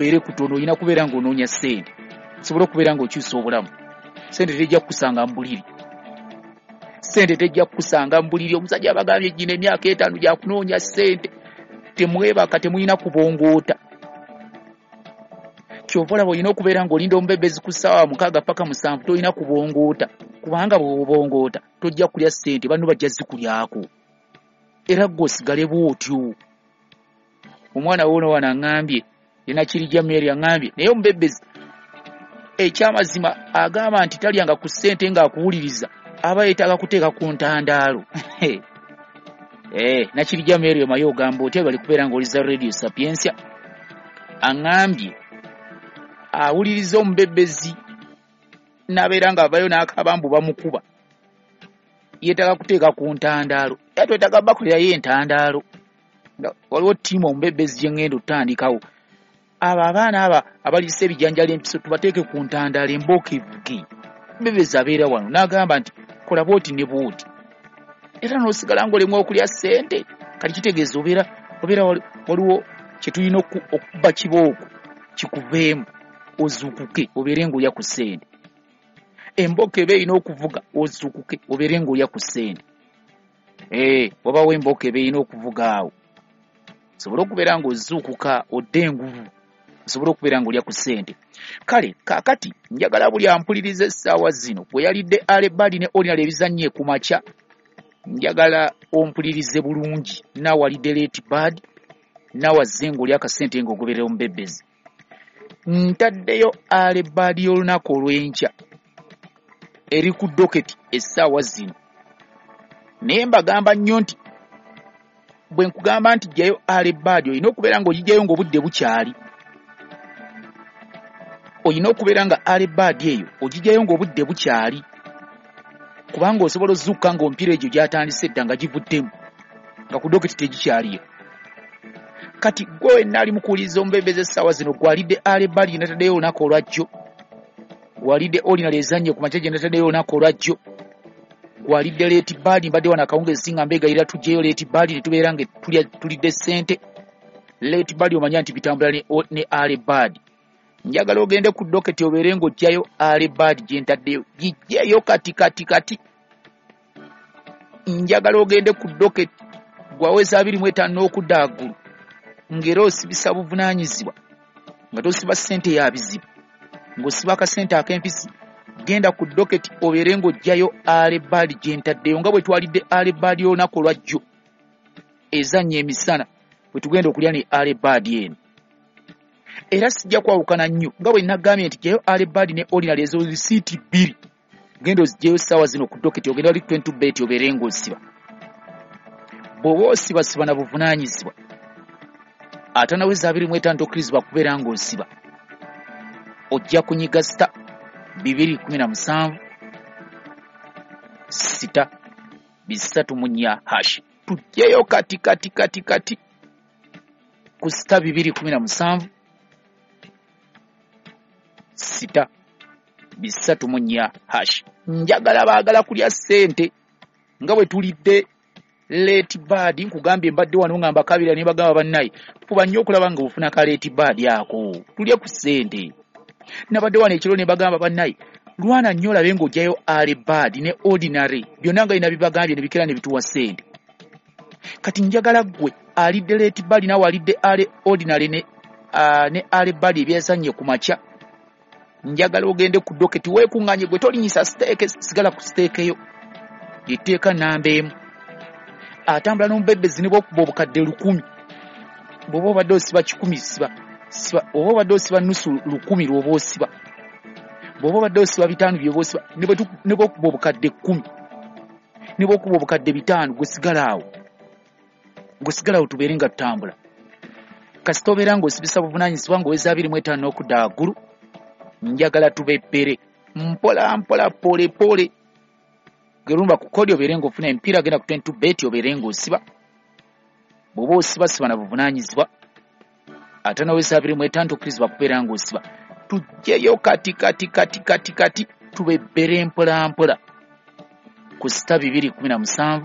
Kubeere kutono, olina kubeera ng'onoonya ssente osobole okubeera ng'okyusa obulamu. Ssente tejja kukusanga mu buliri, ssente tejja kukusanga mu buliri. Omusajja abagambye gino emyaka 5 gya kunoonya ssente, temwebaka, temulina kubongoota. Kyova olaba olina okubeera ng'olinda omubebezi ku ssaawa 6 paka 7, tolina kubongoota, kubanga bw'obongoota tojja kulya ssente, banno bajja zikulyako, era ggwe osigale bw'otyo. Omwana woono wano aŋŋambye, Nakirijja Mary aŋŋambye, naye omubebezi ekyamazima agamba nti talyanga ku ssente ng'akuwuliriza, aba yeetaaga kuteeka ku ntandaalo. Nakirijja Mary omaye ogamba otya bali kubeera ng'oliza Radio Sapientia. Aŋŋambye awuliriza omubebezi n'abeera ng'avayo n'akaaba mbu bamukuba, yeetaaga kuteeka ku ntandaalo. Era twetaaga bakolerayo entandaalo. Waliwo ttiimu omubebezi gye ŋŋenda otandikawo. Abo abaana aba abaliisa ebijanjalo empiso tubateeke ku ntandaalo embooko evuge. Omubebezi abeera wano n'agamba nti kola bw'oti ne bw'oti, era n'osigala ng'olemwa okulya ssente. Kati kitegeeza obeera waliwo kye tulina okukuba kibooko kikuveemu ozuukuke obeere ng'olya ku ssente. Embooko eba erina okuvuga ozuukuke obeere ng'olya ku ssente. Wabawo embooko eba erina okuvuga awo osobole okubeera ng'ozuukuka odde enguvu, osobole okubeera ng'olya ku ssente. Kale kaakati njagala buli ampuliriza essaawa zino bwe yalidde early bird ne ordinary ebizannye ku makya, njagala ompulirize bulungi. Naawe alidde late bird, naawe azze ng'olya akasente ng'ogoberera omubebezi. Ntaddeyo early bird y'olunaku olw'enkya eri ku doketi essaawa zino, naye mbagamba nnyo nti bwe nkugamba nti ggyayo early bird, olina okubeera ng'ogigyayo ng'obudde bukyali. Olina okubeera nga early bird eyo ogigyayo ng'obudde bukyali, kubanga osobola ozuukuka ng'omupiira egyo gyatandise dda nga givuddemu, nga ku doketi tegikyaliyo. Kati ggwe wenna ali mu kuwuliriza omubebezi essaawa zino, gw'alidde early bird gye nataddeyo olunaku olwajjo, gw'alidde ordinary ezannye ku makya gye nataddeyo olunaku olwajjo, gw'alidde late bird, mbadde wano akawungeezi nga mbeegayirira tuggyeyo late bird ne tubeera nga tulidde ssente. Late bird omanya nti bitambula ne early bird. Njagala ogende ku doketi obeere ng'oggyayo early bird gye ntaddeyo, giggyeyo kati kati kati. Njagala ogende ku doketi gw'aweza 25 n'okudda waggulu, ng'era osibisa buvunaanyizibwa, nga tosiba ssente ya bizibu, ng'osiba akasente ak'empisi. Genda ku doketi obeere ng'oggyayo early bird gye ntaddeyo, nga bwe twalidde early bird y'olunaku olwajjo ezannya emisana, bwe tugenda okulya ne early bird eno. Era sijja kwawukana nnyo nga bwe nagambye nti ggyayo early bird ne ordinary ezo risiiti 2, genda oziggyeyo essaawa zino ku doketi, ogenda wali 22 bet obeere ng'osiba. Bw'oba osiba siba na buvunaanyizibwa, atanaweza 25 tokkirizibwa kubeera ng'osiba. Ojja kunyiga sita 217 sita 304 hash. Tuggyeyo kati kati kati kati ku sita 217 sita 304 hash. Njagala baagala kulya ssente nga bwe tulidde late bird. Nkugambye mbadde wano nga mbakabira ne bagamba bannaye fuba nnyo okulaba nga ofuna ka late bird ako tulye ku ssente. Nabadde wano ekiro ne bagamba bannaye lwana nnyo olabe ng'oggyayo early bird ne ordinary, byonna nga bina bibagambye ne bikera ne bituwa ssente. Kati njagala ggwe alidde late bird naawe alidde early ordinary ne early bird ebyazannye ku makya, njagala ogende ku doketi weekuŋŋaanye. Gwe tolinyisa siteeke, sigala ku siteeke yo, etteeka namba 1. Atambula n'omubebezi ne bw'okuba obukadde 1000, bw'oba obadde osiba 100 siba, siba, oba obadde osiba nusu 1000 lw'oba osiba, bw'oba obadde osiba 5 by'oba osiba, ne bw'okuba obukadde 10, ne bw'okuba obukadde 5, gwe sigala awo, gwe sigala awo tubeere nga tutambula. Kasita obeera ng'osibisa buvunaanyizibwa ng'oweza 25 n'okudda waggulu, njagala tubebbere mpola mpola pole pole. Gerumba ku kodi obeere ng'ofuna emipiira, genda ku 22 bet obeere ng'osiba. Bw'oba osiba siba na buvunaanyizibwa, ate n'oweza 25 tokkirizibwa kubeera ng'osiba. Tuggyeyo kati kati kati kati kati tubebbere mpola mpola ku sita 217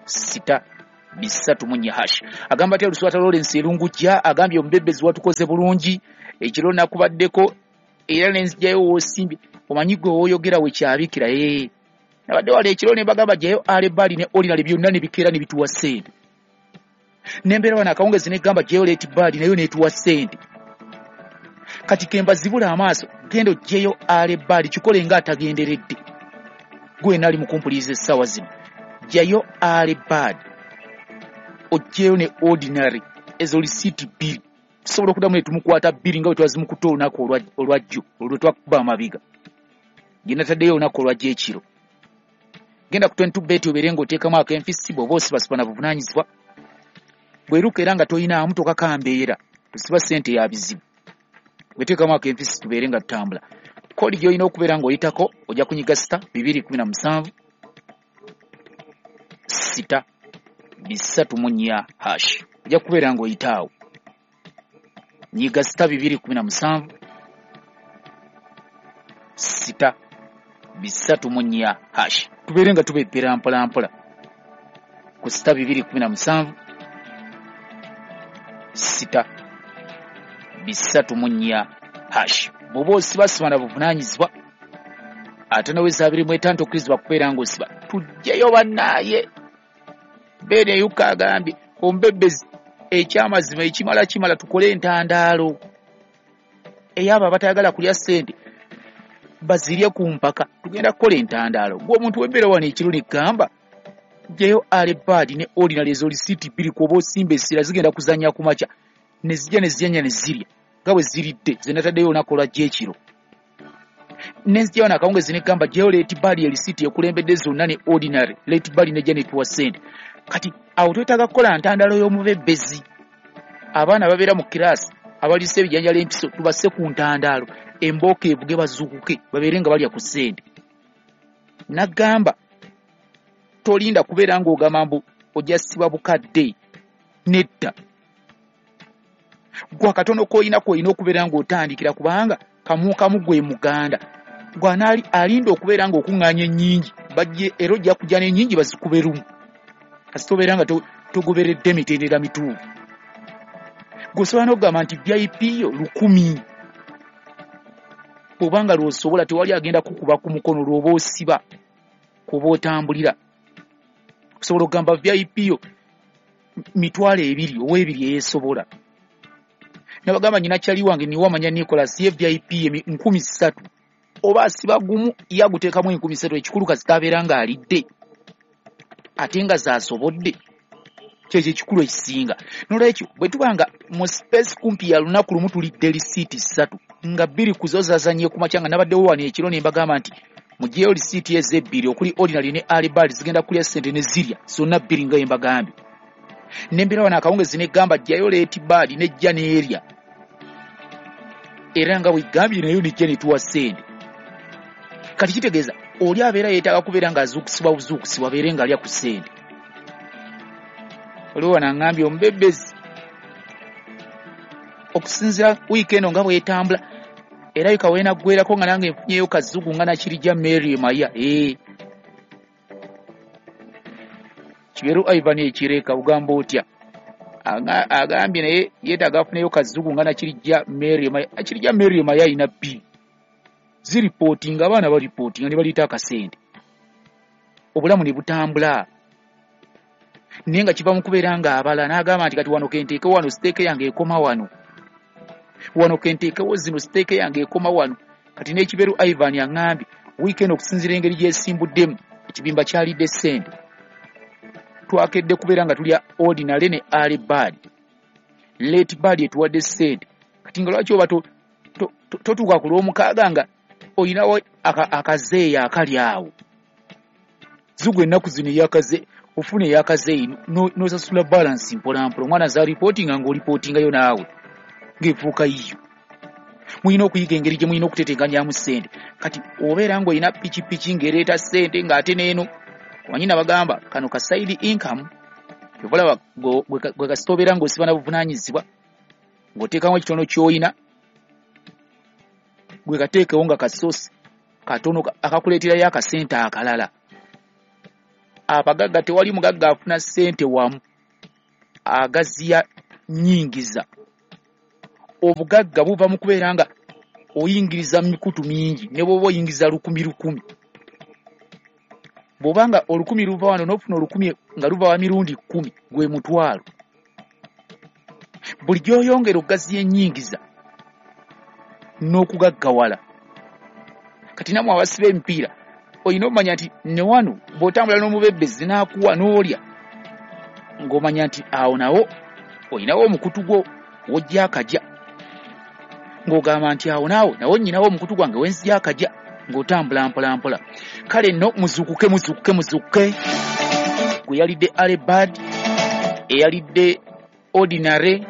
sita 3 4 hash. Agamba atya Luswata Lawrence Erungujja, agambye omubebezi watukoze bulungi ekiro nakubaddeko era nenzijjayo w'osimbye, omanyi gwe w'oyogera wekyabikira. Nabadde wala ekiro ne bagamba jjayo alebali ne ordinary byonna ne bikeera ne bituwa ssente. Nembeera wano akawungezi ne gamba jjayo late bad nayo netuwa ssente. Kati kemba zibula amaaso, genda ojjeyo alebali, kikole nga atagenderedde. Gwe nali mukumpuliza essaawa zino, jjayo alebali ojjeyo ne ordinary, ezo lisiiti 2 tusobola okuddamu ne tumukwata 2 nga bwe twazimukutte olunaku olwajjo olwo twakuba amabiga gye nataddeyo olunaku olwajjo ekiro. Genda ku 22 bet obeere ng'oteekamu akenfisi, bw'oba osibasiba na buvunaanyizibwa bweruka era nga toyinaamu tokakambeera, tusiba ssente ya bizibu. Bweteekamu akenfisi tubeere nga tutambula. Kodi gy'olina okubeera ng'oyitako ojja kunyiga sita 217 6 3 4 hash, ojja kubeera ng'oyitaawo. Nyiga sita 217 6 3 4 hash, tubeere nga tubebbera mpola mpola ku sita 217 6 3 4 hash. Bw'oba osibasiba na buvunaanyizibwa ate noweza 25 tokkirizibwa kubeera ng'osiba. Tujjeyo bannaaye. Beneyuka agambye omubebezi ekyamazima ekimala kimala, tukole entandaalo ey'abo abatayagala kulya ssente bazirye ku mpaka. Tugenda kukola entandaalo. Gwe omuntu w'embeera wano ekiro negamba jjayo alebaadi ne ordinary, ezo lisiiti 2 kw'oba osimba essira zigenda kuzannya ku makya ne zijja ne zijanya ne zirya nga bwe ziridde ze nataddeyo olunaku olwajjo ekiro. Nenzija wano akawungezi negamba jjayo late bad, erisiiti ekulembedde zonna ne ordinary, late bad nejja netuwa ssente. Kati awo twetaaga kukola ntandalo y'omubebezi. Abaana babeera mu kiraasi abaliisa ebijanjalo empiso tubasse ku ntandaalo, embooka evuge bazuukuke babeere nga balya ku ssente. Nagamba tolinda kubeera ng'ogamba mbu ojja siba bukadde, nedda. Gwe akatono k'olina k'olina okubeera ng'otandikira, kubanga kamu kamu gwe muganda gwe anaali alinda okubeera ng'okuŋŋaanya ennyingi bajje, era ojja kujja n'ennyingi bazikube lumu kasita obeera nga togoberedde mitendera mituufu. Gwe osobola n'okugamba nti VIP yo 1000 bw'oba nga lw'osobola, tewali agenda kukuba ku mukono lw'oba osiba kw'oba otambulira. Osobola okugamba VIP yo 20,000 ow'ebiri eyeesobola. Nabagamba nyina kyali wange niwamanya Nicholas ye VIP ye 3,000 oba asiba gumu ye aguteekamu 3,000, ekikulu kasita abeera ng'alidde ate nga z'asobodde, kyekyo ekikulu ekisinga. Nolwekyo bwe tuba nga mu space kumpi ya lunaku lumu tulidde lisiiti 3 nga 2 ku zo zazannye ku makya, nga nabaddewo wano ekiro ne mbagamba nti muggyeyo lisiiti ezebbiri okuli ordinary ne alibali zigenda kulya ssente ne zirya zonna 2 nga mbagambye. Nembeera wano akawungezi negamba jjayo late bad nejja n'erya era nga bwegambye nayo nejja netuwa ssente. Kati kitegeeza oli abeera yeetaaga kubeera ng'azuukusibwa buzuukusibwa abeere ng'alya ku ssente. Oliwo wano aŋŋambye omubebezi okusinziira wiiki eno nga bw'etambula era yuka weenaggwerako nga nange nfunyeyo kazugu nga nakirijja Mary Maya. Kiberu Ivan Ekireka ugamba otya? Agambye naye yeetaaga afuneyo kazugu nga nakirijja Mary Maya. Nakirijja Mary Maya alina 2 ziripootinga, abaana baripootinga ne baleeta akasente obulamu ne butambula, naye nga kiva mu kubeera ng'abala n'agamba nti kati wano kenteekewo wano siteeke yange ekoma wano, wano kenteekewo zino siteeke yange ekoma wano. Kati n'Ekiberu Ivan aŋŋambye wiiki eno okusinziira engeri gy'esimbuddemu ekibimba kyalidde ssente, twakedde kubeera nga tulya ordinary ne early bird, late bird etuwadde ssente. Kati nga lwaki oba totuuka ku lw'omukaaga nga olinawo akazeeyi akali awo zigwa ennaku zino eyakaze ofuna eyakazeeyi n'osasula balansi mpola mpola, omwana z'alipootinga ng'olipootingayo naawe ng'efuuka yiyo. Mulina okuyiga engeri gye mulina okutetenkanyaamu ssente. Kati obeera ng'olina pikipiki ng'ereeta ssente ng'ate n'eno omanyi nabagamba kano ka side income, kyova olaba gwe kasita obeera ng'osiba na buvunaanyizibwa ng'oteekamu ekitono ky'olina gwe kateekewo nga kasosi katono akakuleeterayo akasente akalala. Abagagga tewali mugagga afuna ssente wamu, Agaziya nyingiza. Obugagga buva mu kubeera nga oyingiriza mu mikutu mingi, ne bw'oba oyingiza 1,000 1,000. Bw'obanga 1,000 luva wano n'ofuna 1,000 nga luva wa mirundi 10, gwe mutwalo. Buli gy'oyongera okugaziya ennyingiza n'okugaggawala. Kati nammwe abasiba emipiira olina okumanya nti ne wano bw'otambula n'omubebbezi n'akuwa n'olya, ng'omanya nti awo nawo olinawo omukutu gwo w'ojja akajja, ng'ogamba nti awo naawe nawo nnyinawo omukutu gwange wenzija akajja, ng'otambula mpola mpola. Kale nno muzuukuke, muzuukuke, muzuukuke. Gwe yalidde early bird, eyalidde ordinary,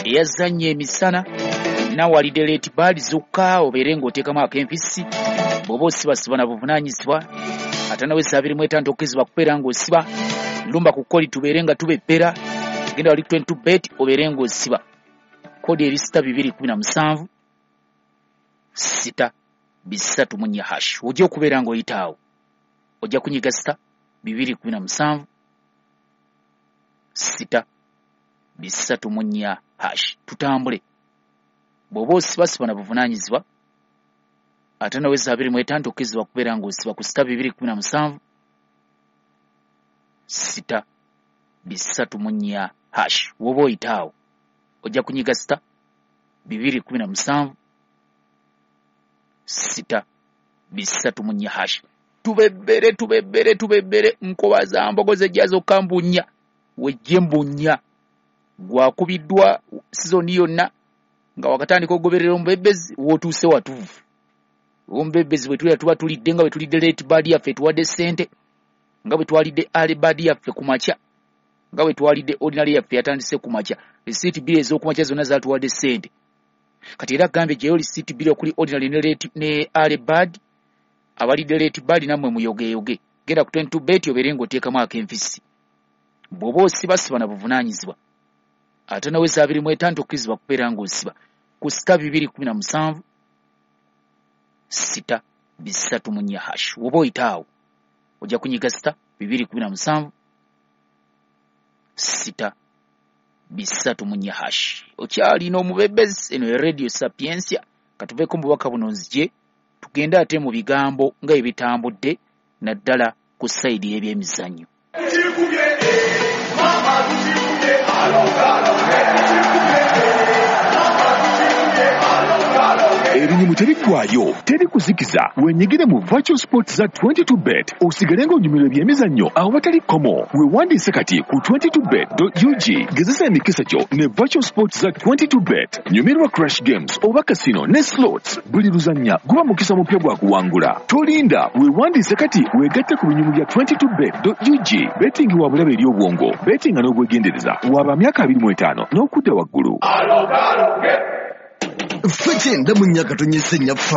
eyazannya emisana, naawe alidde late bird, zuukuka obeere ng'oteekamu ak'empisi. Bw'oba osibasiba na buvunaanyizibwa, ate nawe 25 okkirizibwa kubeera ng'osiba. Lumba ku kodi tubeere nga tubebbera, genda wali 22 bet obeere ng'osiba. Kodi eri 6217 6 3 4 hash. Ojja okubeera ng'oyita awo, ojja kunyiga 6217 6 3 4 hash. Tutambule. Bw'oba osibasiba na buvunaanyizibwa, ate nawe 25 okkirizibwa kubeera ng'osiba ku 6217 6 3 4 hash. Woba oyita awo ojja kunyiga 6217 6 3 4 hash. Tubebbere, tubebbere, tubebbere. Nkoba za mbogo zejja zokka mbunya, wejje mbunya. Gwakubiddwa sizoni yonna nga wakatandika okugoberera omubebbezi, w'otuuse watuufu. Omubebbezi bwe tulya tuba tulidde nga bwe tulidde late bird yaffe etuwadde ssente, nga bwe twalidde early bird yaffe ku makya, nga bwe twalidde ordinary yaffe yatandise ku makya. Risiiti 2 ez'okumakya zonna zaatuwadde ssente. Kati era gambye gyeyo risiiti 2 okuli ordinary ne late ne early bird. Abalidde late bird nammwe muyogeyoge, genda ku 22 bet obeere ng'oteekamu ak'enfisi. Bw'oba osibasiba na buvunaanyizibwa, ate nawe 25 okkirizibwa kubeera ng'osiba ku 6217 6 3 4 hash. Woba oyita awo ojja kunyiga 6217 6 3 4 hash. Okyalina omubebbezi. Eno ye Radio Sapientia. Katuveeko mu bubaka buno nzije tugende ate mu bigambo nga ebitambudde naddala ku side y'ebyemizannyo. Mama tukikubye, alo, tukikubye, mama tukikubye, alo. Ebinyumu tebiggwayo, teri kuzikiza. Wenyigire mu virtual sports za 22 bet, osigale ng'onyumirwa ebyemizannyo awatali kkomo. Weewandiise kati ku 22bet.ug. Gezesa emikisa gyo ne virtual sports za 22 bet. Nyumirwa crash games oba casino ne slots. Buli luzannya guba mukisa mupya gwa kuwangula. Tolinda, weewandiise kati weegatte ku binyumu bya 22bet.ug. Betting wa bulabe eri obwongo. Bettinga n'obwegendereza. Waba myaka 25 n'okudda waggulu. Ffe 94 katonyese nnyaffe.